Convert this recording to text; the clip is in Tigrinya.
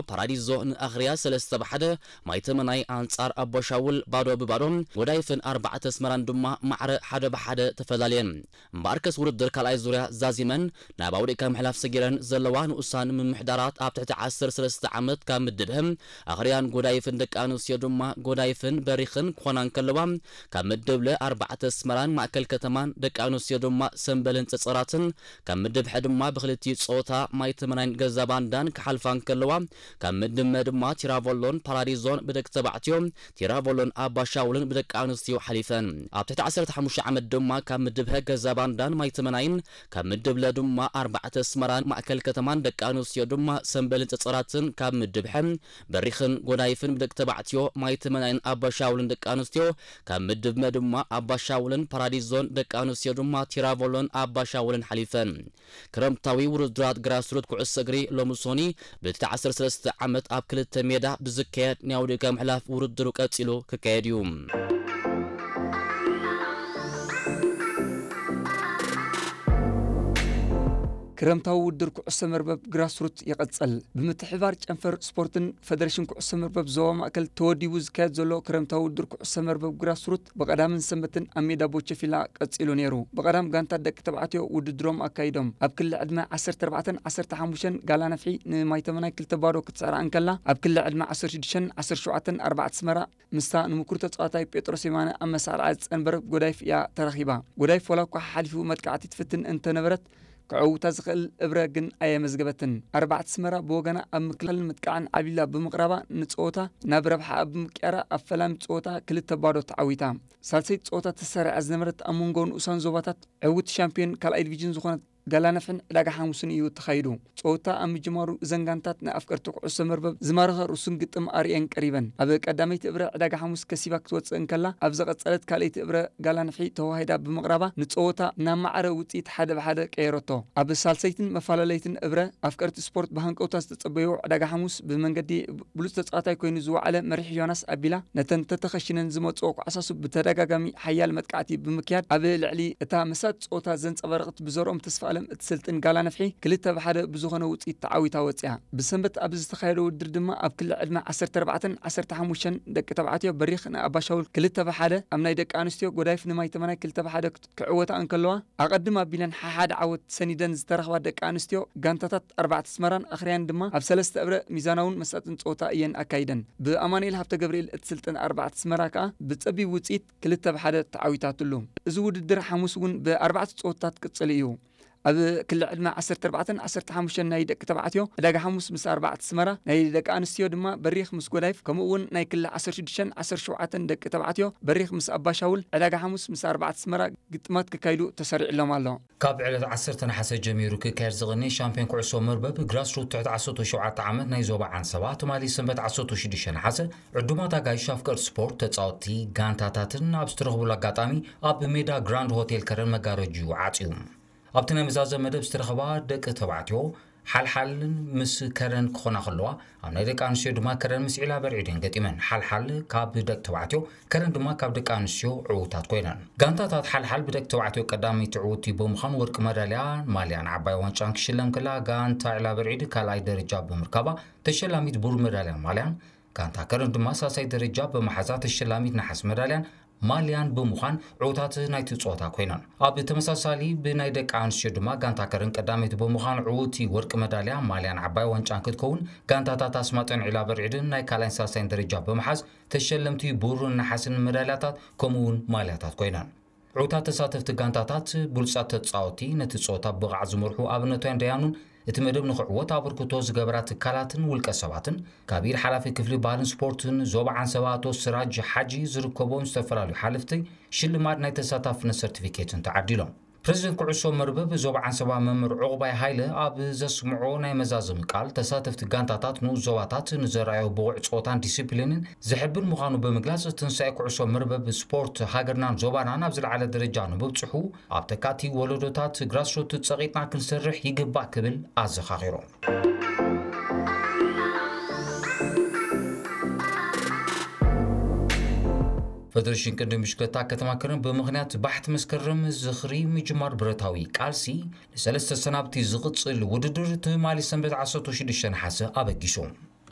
ፓራዲዞ ንኣኽርያ ሰለስተ ብ ሓደ፣ ማይ ተመናይ ኣንጻር ኣቦሻውል ባዶ ብ ባዶ፣ ጎዳይፍን ኣርባዕተ ኣስመራን ድማ ማዕረ ሓደ ብ ሓደ ተፈላለየን። እምበኣርከስ ውድድር ካልኣይ ዙርያ ዛዚመን ናብ ኣውዲቕካ ምሕላፍ ሰጊረን ዘለዋ ንኡሳን ምምሕዳራት ኣብ ትሕቲ ዓሰርተ ሰለስተ ዓመት ካብ ምድብ ሀ ኣኽርያን ጎዳይፍን ደቂ ኣንስትዮ ድማ ጎዳይፍን በሪኽን ክኾና እንከለዋ፣ ካብ ምድብ ለ ኣርባዕተ ኣስመራን ማእከል ከተማን ደቂ ኣንስትዮ ድማ ሰምበልን ጸጸራትን፣ ካብ ምድብ ሐ ድማ ብክልቲኡ ጾታ ማይ ተመናይን ገዛ ባንዳን ክሓልፋ እንከለዋ፣ ካብ ምድብ መ ድማ ቲራቮሎን ፓራዲዞን ብደቂ ተባዕትዮ፣ ቲራቮሎን ኣባሻውልን ብደቂ ኣንስትዮ ሓሊፈን። ኣብ ትሕቲ ዓሰርተ ሓሙሽተ ዓመት ድማ ካብ ምድብ ሀ ገዛ ባንዳን ማይ ተመናይን፣ ካብ ምድብ ለ ድማ ኣርባዕተ ኣስመራን ማእከል ከተማን ደቂ ኣንስትዮ ድማ ሰምበልን ጸጸራትን፣ ካብ ምድብ ሐ በሪኽን ጎዳይፍን ብደቂ ተባዕትዮ፣ ማይ ተመናይን ኣባሻውልን ደቂ ኣንስትዮ፣ ካብ ምድብ መ ድማ ኣባሻውልን ፓራዲዞን ደቂ ኣንስትዮ ድማ ቲራቮሎን ኣባሻውልን ሓሊፈን። ክረምታዊ ውድድራት ግራስሩት ኩዕሶ እግሪ ሎሚ ሶኒ ብቲ ዓሰርተ ሰለስተ ዓመት ኣብ ክልተ ሜዳ ብዝካየድ ናይ ኣውዲቕካ ምሕላፍ ውድድሩ ቀጺሉ ክካየድ እዩ። ክረምታዊ ውድድር ኩዕሶ መርበብ ግራስሩት ይቐጽል። ብምትሕብባር ጨንፈር ስፖርትን ፈደሬሽን ኩዕሶ መርበብ ዞባ ማእከል ተወዲቡ ዝካየድ ዘሎ ክረምታዊ ውድድር ኩዕሶ መርበብ ግራስሩት ብቐዳምን ሰንበትን ኣብ ሜዳ ቦቸፊላ ቀጺሉ ነይሩ። ብቐዳም ጋንታት ደቂ ተባዕትዮ ውድድሮም ኣካይዶም። ኣብ ክሊ ዕድመ ዓሰርተ ኣርባዕተን ዓሰርተ ሓሙሽተን ጋላ ነፍሒ ንማይ ተመናይ ክልተ ባዶ ክትስዕራ እንከላ፣ ኣብ ክሊ ዕድመ ዓሰርተ ሽዱሽተን ዓሰርተ ሸውዓተን ኣርባዕተ ኣስመራ ምስታ ንምኩር ተጻዋታይ ጴጥሮስ የማነ ኣብ መሳርዓ ዝጸንበረት ጎዳይፍ እያ ተረኺባ። ጎዳይፍ ዋላ እኳ ሓሓሊፉ መጥቃዕቲ ትፍትን እንተነበረት፣ ክዕውታ ዝኽእል እብረ ግን ኣየመዝገበትን። ኣርባዕተ ኣስመራ ብወገና ኣብ ምክልኻልን ምጥቃዕን ዓብሊላ ብምቕራባ ንጸወታ ናብ ረብሓኣ ብምቅያራ ኣብ ፈላሚ ጸወታ ክልተ ባዶ ተዓዊታ። ሳልሰይቲ ጸወታ ተሰሪዓ ዝነበረት ኣብ መንጎ ንኡሳን ዞባታት ዕውት ሻምፒዮን ካልኣይ ዲቪዥን ዝኾነት ጋላ ነፍሕን ዕዳጋ ሓሙስን እዩ ተኻይዱ። ጸወታ ኣብ ምጅማሩ እዘን ጋንታት ንኣፍቀርቲ ኩዕሶ መርበብ ዝማረኸ ርሱን ግጥም ኣርእየን ቀሪበን። ኣብ ቀዳመይቲ እብረ ዕዳጋ ሓሙስ ከሲባ ክትወጽእ እንከላ፣ ኣብ ዝቐጸለት ካልኣይቲ እብረ ጋላ ነፍሒ ተዋሂዳ ብምቕራባ ንጸወታ ናብ ማዕረ ውጽኢት ሓደ ብሓደ ቀየረቶ። ኣብ ሳልሰይትን መፈላለይትን እብረ ኣፍቀርቲ ስፖርት ብሃንቀውታ ዝተጸበይዎ ዕዳጋ ሓሙስ ብመንገዲ ብሉጽ ተጻዋታይ ኮይኑ ዝወዓለ መሪሕ ዮናስ ኣቢላ ነተን ተተኸሽነን ዝመጽኦ ኳዕሳሱ ብተደጋጋሚ ሓያል መጥቃዕቲ ብምክያድ ኣብ ልዕሊ እታ መሳጥ ጸወታ ዘንጸባረቐት ብዘርኦም ተስፋኣለም እትስልጥን ጋላ ነፍሒ ክልተ ብሓደ ብዝኾነ ውጽኢት ተዓዊታ ወጺኣ። ብሰንበት ኣብ ዝተኻየደ ውድድር ድማ ኣብ ክሊ ዕድመ ዓሰርተ ኣርባዕተን ዓሰርተ ሓሙሽተን ደቂ ተባዕትዮ በሪኽ ንኣባሻውል ክልተ ብሓደ፣ ኣብ ናይ ደቂ ኣንስትዮ ጎዳይፍ ንማይ ተመናይ ክልተ ብሓደ ክት-፣ ክዕወታ እንከለዋ፣ ኣቐድም ኣቢለን ሓሓደ ዓወት ሰኒደን ዝተረኽባ ደቂ ኣንስትዮ ጋንታታት ኣርባዕተ ኣስመራን ኣኽርያን ድማ ኣብ ሰለስተ እብረ ሚዛናውን መሳጥን ጸወታ እየን ኣካይደን። ብኣማኑኤል ሃብተ ገብርኤል እትስልጥን ኣርባዕተ ኣስመራ ከኣ ብጸቢብ ውጽኢት ክልተ ብሓደ ተዓዊታትሉ። እዚ ውድድር ሓሙስ እውን ብኣርባዕተ ጸወታታት ክጽል እዩ። ኣብ ክሊ ዕድመ ዓሰርተ ኣርባዕተን ዓሰርተ ሓሙሽተን ናይ ደቂ ተባዕትዮ ዕዳጋ ሓሙስ ምስ ኣርባዕተ ኣስመራ፣ ናይ ደቂ ኣንስትዮ ድማ በሪኽ ምስ ጎዳይፍ፣ ከምኡ እውን ናይ ክሊ ዓሰርተ ሽዱሽተን ዓሰርተ ሸውዓተን ደቂ ተባዕትዮ በሪኽ ምስ ኣባሻውል ዕዳጋ ሓሙስ ምስ ኣርባዕተ ኣስመራ ግጥማት ክካይዱ ተሰሪዕሎም ኣሎ። ካብ ዕለት ዓሰርተ ነሓሰ ጀሚሩ ክካየድ ዝቕኒ ሻምፒዮን ኩዕሶ መርበብ ግራስሩት ትሕቲ ዓሰርተ ሸውዓተ ዓመት ናይ ዞባ ዓንሰባ ትማሊ ሰንበት ዓሰርተ ሽዱሽተ ነሓሰ ዕዱማት ኣጋይሽ ኣፍቀርቲ ስፖርት፣ ተጻወትቲ፣ ጋንታታትን ኣብ ዝተረኽቡሉ ኣጋጣሚ ኣብ ሜዳ ግራንድ ሆቴል ከረን መጋረጅኡ ዓጽዩ። ኣብቲ ናይ መዛዘ መደብ ዝተረኸባ ደቂ ተባዕትዮ ሓልሓልን ምስ ከረን ክኾና ከለዋ፣ ኣብ ናይ ደቂ ኣንስትዮ ድማ ከረን ምስ ዒላ በርዒድ እየን ገጢመን። ሓልሓል ካብ ደቂ ተባዕትዮ፣ ከረን ድማ ካብ ደቂ ኣንስትዮ ዕዉታት ኮይነን። ጋንታታት ሓልሓል ብደቂ ተባዕትዮ ቀዳመይቲ ዕውቲ ብምዃን ወርቂ መዳልያ ማልያን ዓባይ ዋንጫን ክሽለም ከላ፣ ጋንታ ዒላ በርዒድ ካልኣይ ደረጃ ብምርካባ ተሸላሚት ብሩር መዳልያን ማልያን፣ ጋንታ ከረን ድማ ሳልሳይ ደረጃ ብምሓዛ ተሸላሚት ነሓስ መዳልያን ማልያን ብምዃን ዕዉታት ናይቲ ጸወታ ኮይነን። ኣብ ተመሳሳሊ ብናይ ደቂ ኣንስትዮ ድማ ጋንታ ከረን ቀዳመይቲ ብምዃን ዕውቲ ወርቂ መዳልያ ማልያን ዓባይ ዋንጫን ክትከውን፣ ጋንታታት ኣስማጠን ዒላ በርዒድን ናይ ካልኣይን ሳልሳይን ደረጃ ብምሓዝ ተሸለምቲ ብሩርን ነሓስን መዳልያታት ከምኡ እውን ማልያታት ኮይነን። ዕዉታት ተሳተፍቲ ጋንታታት ብሉጻት ተጻወቲ ነቲ ጸወታ ብብቕዓት ዝመርሑ ኣብነታውያን ደያኑን እቲ መደብ ንኽዕወት ኣበርክቶ ዝገበራ ትካላትን ውልቀ ሰባትን ካብ ኢድ ሓላፊ ክፍሊ ባህልን ስፖርትን ዞባ ዓንሰባ ኣቶ ስራጅ ሓጂ ዝርከቦም ዝተፈላለዩ ሓለፍቲ ሽልማት ናይ ተሳታፍነት ሰርቲፊኬትን ተዓዲሎም። ፕሬዚደንት ኩዕሶ መርበብ ዞባ ዓንሰባ መምህር ዑቕባይ ሃይለ ኣብ ዘስምዖ ናይ መዛዘሚ ቃል፣ ተሳተፍቲ ጋንታታት ንኡስ ዞባታት ንዘርኣዮ ብቑዕ ጸወታን ዲሲፕሊንን ዘሕብን ምዃኑ ብምግላጽ፣ ትንሳኤ ኩዕሶ መርበብ ስፖርት ሃገርናን ዞባናን ኣብ ዝለዓለ ደረጃ ንምብጽሑ ኣብ ተካእቲ ወለዶታት ግራስሩት ጸቒጥና ክንሰርሕ ይግባእ ክብል ኣዘኻኺሩ። ፈደሬሽን ቅድድም ብሽክለታ ከተማ ከረን ብምኽንያት ባሕቲ መስከረም ዝኽሪ ምጅማር ብረታዊ ቃልሲ ንሰለስተ ሰናብቲ ዝቕጽል ውድድር ትማሊ ሰንበት ዓሰርተ ሽዱሽተ ነሓሰ ኣበጊሱ።